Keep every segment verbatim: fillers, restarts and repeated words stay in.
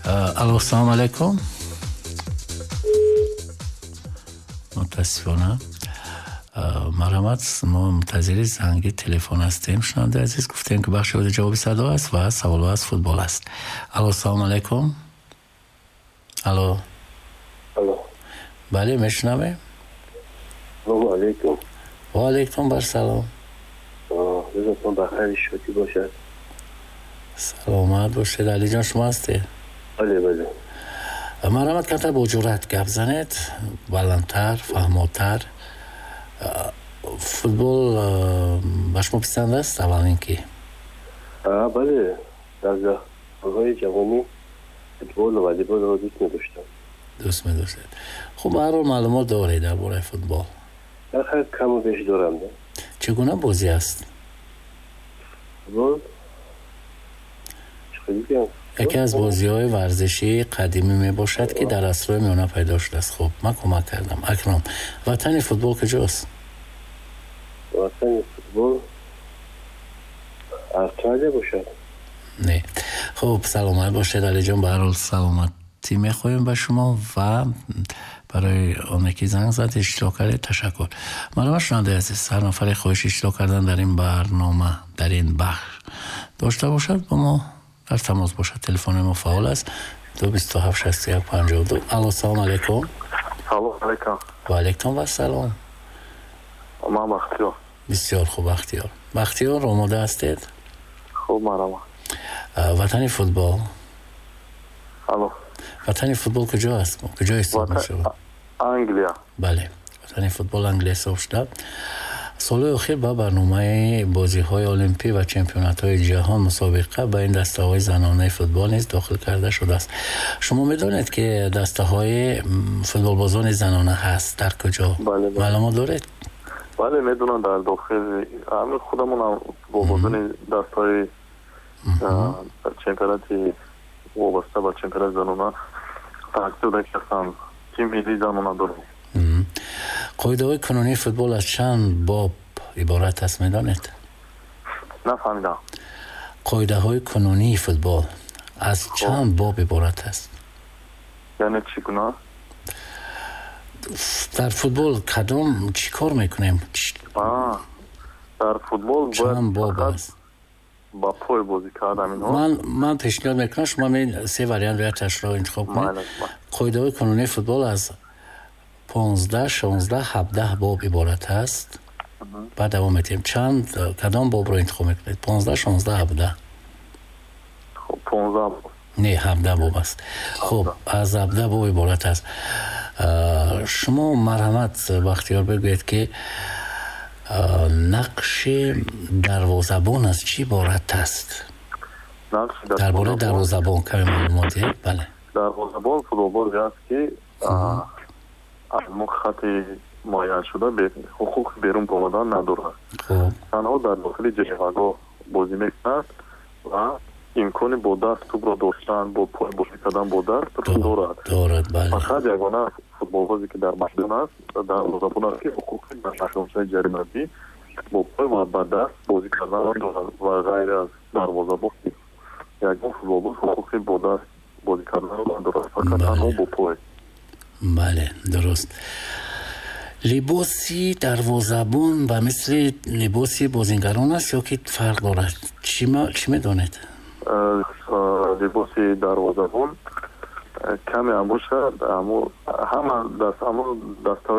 Алло, салом алейкум. Мутаассифона, марҳамат, мо мунтазири занги телефон ҳастем. Шунавандаи азиз, гуфтем, ки бахши ҷавоби садо аст ва саволҳо аз футбол аст. Алло, салом алейкум. Алло. Алло. Бале, мешунавем. Салому алейкум. Ва алейкум барсалом. Рӯзатон ба хайри шодӣ бошад. Саломат бошед. Алиҷон, шумо ҳастед? Бале, бале. Марҳамат, камтар бо ҷуръат гап занед, баландтар, фаҳмотар. Футбол ба шумо писанд аст, аввалин ки? Бале, дар солҳои ҷавонӣ футболу волейболро дӯст медоштам. Дӯст медоштед. Хуб, ба ҳар ҳол маълумот доред дар бораи футбол? Хайр, каму беш дорам. Чӣ гуна бозӣ аст? Футбол яке аз бозиҳои варзишии қадимӣ мебошад, ки дар асрҳои миёна пайдо шудааст. Хуб, ман кӯмак кардам. Акнун, ватани футбол куҷост? Ватани футбол Австралия бошад. Не. Хуб, саломат бошед, Алиҷон. Ба ҳар ҳол саломатӣ мехоҳем ба шумо ва барои оне ки занг зад, иштирок кардед, ташаккур. Марҳамат, шунавандаи азиз, ҳар нафаре хоҳиши иштирок кардан дар ин барнома, дар ин бахш дошта бошад, бо мо дар тамос бошад. Телефони мо фаъол аст: ду бисту ҳафт шасту як панҷоҳу ду. Алло, салом алейкум. Салом алейкум. Ва алейкум вассалом. Ман Бахтиёр. Бисёр хуб, Бахтиёр. Бахтиёр, омода ҳастед? Хуб, марҳамат. Ватани футбол? Алло. Ватани футбол куҷо аст, куҷо ҳисоб мешавад? Англия. Бале, ватани футбол Англия ҳисоб шуда. Солҳои охир ба барномаи бозиҳои олимпӣ ва чемпионатҳои ҷаҳон мусобиқа ба ин дастаҳои занонаи футбол низ дохил карда шудааст. Шумо медонед, ки дастаҳои футболбозони занона ҳаст дар куҷо? Маълумот доред? Бале, медонам, дар дохили ҳамин худамонам футболбозони дастаҳои чемпионати вобаста ба чемпионати занона тақсир ки ҳастанд, тим миллии занона дорем. Қоидаҳои кунунии футбол аз чанд боб иборат аст, медонед? Нафаҳмидам. Қоидаҳои кунунии футбол аз чанд боб иборат аст? Яъне чӣ гуна? Дар футбол кадом чӣ кор мекунем? Дар футбол чанд боб аст? Ба пой бозӣ кардам инҳо. Ман ман пешниҳод мекунам, шумо се вариант якташро интихоб кунед. Қоидаҳои кунунии футбол аз понздаҳ, шонздаҳ, ҳабдаҳ боб иборат аст. Баъд давом метиҳем. Чанд, кадом бобро интихоб мекунед? Понздаҳ, шонздаҳ, ҳабдаҳ? Понздаҳ. Не, ҳабдаҳ боб аст. Хуб, аз ҳабдаҳ боб иборат аст. Шумо, марҳамат, Бахтиёр, бигӯед, ки нақши дарвозабон аз чӣ иборат аст? Дар бораи дарвозабон каме маълумот диҳед. Бале. Дарвозабон футболбозе аст, ки аз мо хати муайяншуда ҳуқуқи берун баромадан надорад, танҳо дар дохили ҷаримагоҳ бозӣ мекунад ва имкони бо даст тӯбро доштан, бо пой бозӣ кардан бо даст дорад. Дорад, бале. Фақат ягона футболбозе, ки дар майдон аст, дарвозабон аст, ки ҳуқуқи дар майдончаи ҷаримавӣ бо пой ва ба даст бозӣ карданро дорад ва ғайр аз дарвозабон ягон футболбоз ҳуқуқи бо даст бозӣ карданро надорад, фақат танҳо бо пой. Бале, дуруст. Либоси дарвозабон ба мисли либоси бозингарон аст ё ки фарқ дорад? Чӣ медонед? Либоси дарвозабон каме ҳам бошад, ҳама ҳамон даста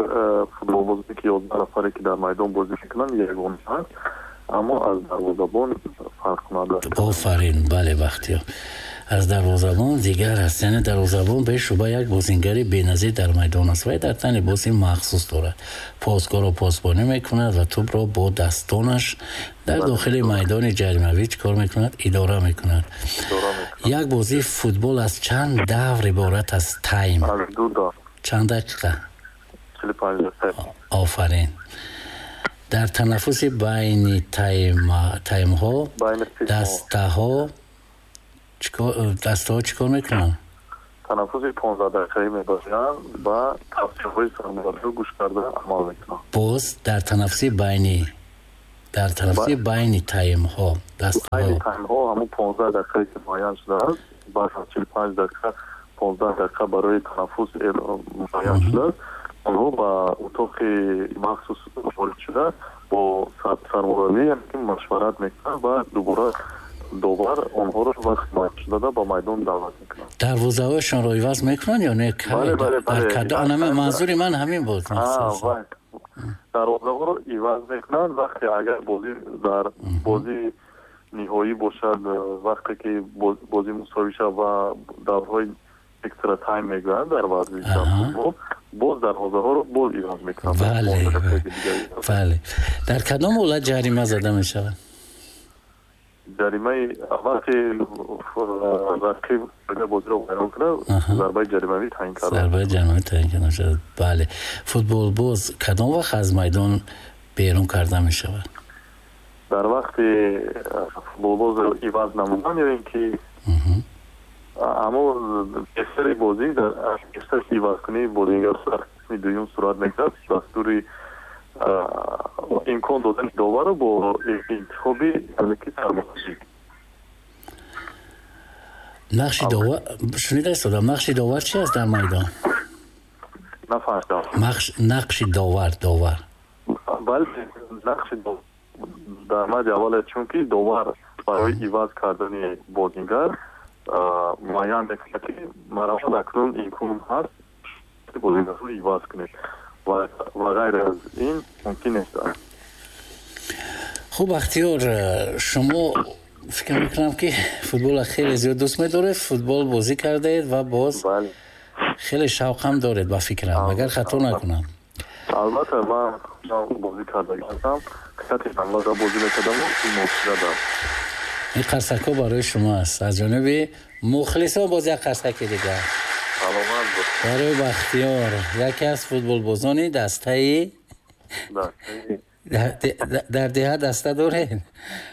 футболбозе, ки ёздаҳ нафаре, ки дар майдон бозӣ мекунанд, ягона аст, аммо аз дарвозабон фарқ кунад. Офарин, бале, Бахтиёр, аз дарвозабон дигар аст. Яъне дарвозабон бешуба як бозингари беназир дар майдон аст. Вай дар тан либоси махсус дорад, посгоҳро посбонӣ мекунад ва тӯбро бо дастонаш дар дохили майдони ҷаримавӣ чӣ кор мекунад? Идора мекунад. Як бозии футбол аз чанд давр иборат аст, тайм? Чанд дақиқа? Офарин. Дар танаффуси байни таймҳо дастаҳо дастаҳо чӣ кор мекунанд? Танаффуси понздаҳ дақиқаӣ мебозианд ва тавсияҳои сармураббиро гӯш карда амал мекунанд. Боз дар танаффуси байни дар танаффуси байни таймҳо дастаҳо байни таймҳо, ҳамон понздаҳ дақиқае, ки муайян шудааст, баъд аз чилу панҷ дақиқа понздаҳ дақиқа барои танаффус муайян шудааст, онҳо ба утоқи махсус ворид шуда бо сармураббӣ яъне машварат мекунанд ва дубора довар онҳоро вақти муайян шуда ба майдон даъват мекунанд. Дарвозаҳояшонро иваз мекунанд ё не? Манзури ман ҳамин буд. Дарвозаҳоро иваз мекунанд вақте агар бозӣ дар бозии ниҳоӣ бошад, вақте ки бозӣ мусовӣ шавад ва даврҳои экстра тайм мегӯянд дар варзиши футбол, боз дарвозаҳоро боз иваз мекунанд. Бале, бале. Дар кадом ҳолат ҷарима зада мешавад? Ҷаримаи вақте рақиб бозиро вайрон кунад, зарбаи ҷаримавӣ таъин карда зарбаи ҷаримавӣ таъин карда мешавад. Бале. Футболбоз кадом вақт аз майдон берун карда мешавад? Дар вақти футболбозро иваз намудан ё ин ки аммо бештари бозӣ дар бештари ивазкунии бозингар дар қисми дуюм сурат мегирад, дастури имкон додани доварро бо интихоби яъне ки сармураббӣ. Нақши довар шунида истодам. Нақши довар чи аст дар майдон? Нафаҳмидам. Нақши довар довар. Бале, нақши дар мади аввал аст, чунки довар барои иваз кардани бозингар муайян мекунад, ки марамат акнун имкон ҳаст бозингарро иваз кунед ва ғайр аз ин мумкин нест. Хуб, Бахтиёр, шумо фикр мекунам ки футболро хеле зиёд дӯст медоред, футбол бозӣ кардаед ва боз хеле шавқам доред ба фикрам, агар хато накунам. Албатта, ман бозӣ кардагиам, хати ҳамлада бозӣ мекардам ва ин қарсакҳо барои шумо аст аз ҷониби мухлисон. Боз як қарсаки дигар барои Бахтиёр, яке аз футболбозони дастаи дар деҳа даста доред?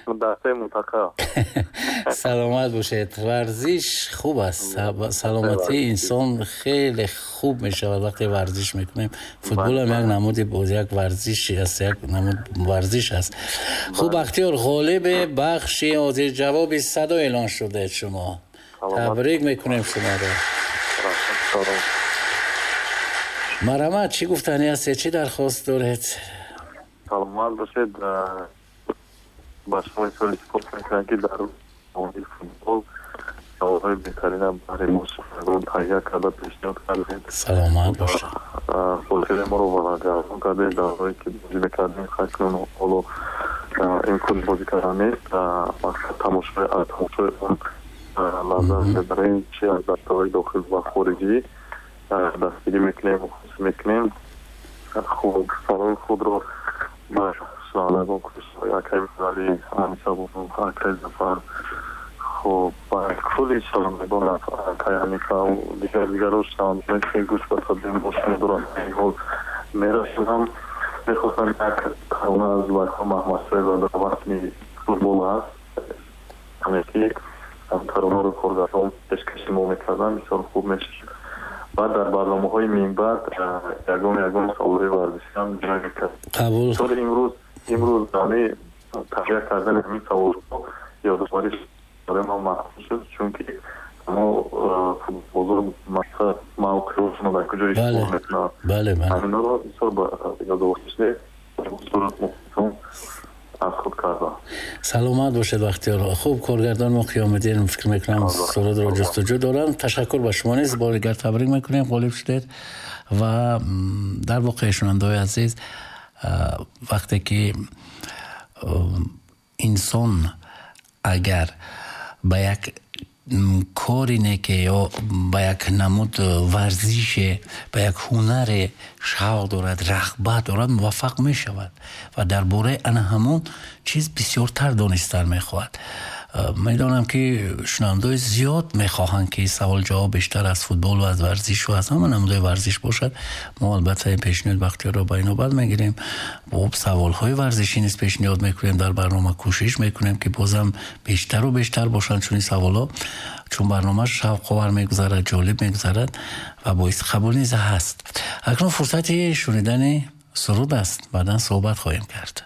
Дастаи мунтахаб. Саломат бошед. Варзиш хуб аст, саломатии инсон хеле хуб мешавад вақте варзиш мекунем. Футболам як намуди боз як варзиш аст, як намуд варзиш аст. Хуб, Бахтиёр, ғолиби бахши ҳозирҷавоби садо эълон шудед шумо. Табрик мекунем шуморо. Марҳамат, чӣ гуфтанӣ ҳастед, чӣ дархост доред? Саломат бошед. Ба шумо изҳори сипос мекунам, ки дар мавриди футбол саволҳои беҳтарина барои мо шунавандагон таҳия карда пешниҳод кардед. Саломат бошед. Хотираи моро варақгардон кардед. Даврҳое ки бозӣ мекардем, акнун ҳоло имкони бозӣ кардан нест. Мақсад тамошои аз тамошои он лаззат мебарем, чи аз дастаҳои дохил ва хориҷӣ дастгирӣ мекунем, хусусӣ мекунем. Хуб, саломи худро ба шунавандагон акаи Миралӣ, Аниса Бону, акаи Зафар, хуб, ба кулли шунавандагон, акаи Ҳанифа дигар дигаро шунавандагоне ки гӯш ба садои мо доранд ҳол мерасонам. Мехостам як тарона аз Зулайхо Маҳмадшоева дар васми футбол аст, ҳаме ки таронаро коргардон пешкаши мо мекарданд, бисёр хуб мешуд. Баъд дар барномаҳои минбаъд ягон ягон саволҳои варзишиам ҷой мекард. Қабул. Имрӯз имрӯз ҳамин таҳия кардани ҳамин саволҳо ёдоварӣ барои ман махсус шуд, чунки мо футболбозон мақсад мавқеъҳошонро дар куҷо ишғол мекунанд, ҳаминҳоро бисёр ёдоварӣ шуд, сурат мухлисон аз худ кардам. Саломат бошед, Бахтиёр. Хуб, коргардон мо Қиёмиддин фикр мекунам сурудро ҷустуҷӯ доранд. Ташаккур ба шумо низ, бори дигар табрик мекунем, ғолиб шудед. Ва дар воқеъ шунавандаҳои азиз, вақте ки инсон агар ба як кори неке ё ба як намуд варзише, ба як ҳунаре шавқ дорад, рағбат дорад, муваффақ мешавад ва дар бораи ана ҳамон чиз бисёртар донистан мехоҳад. Медонам ки шунавандаҳои зиёд мехоҳанд ки савол ҷавоб бештар аз футбол ва аз варзиш ва аз ҳама намудҳои варзиш бошад. Мо албатта ин пешниҳод Бахтиёрро ба инобат мегирем. Бо саволҳои варзишӣ низ пешниҳод мекунем дар барнома, кӯшиш мекунем ки бозам бештару бештар бошанд чунин саволҳо, чун барнома шавқовар мегузарад, ҷолиб мегузарад ва боиси қабул низ ҳаст. Акнун фурсати шунидани суруд аст, баъдан суҳбат хоҳем кард.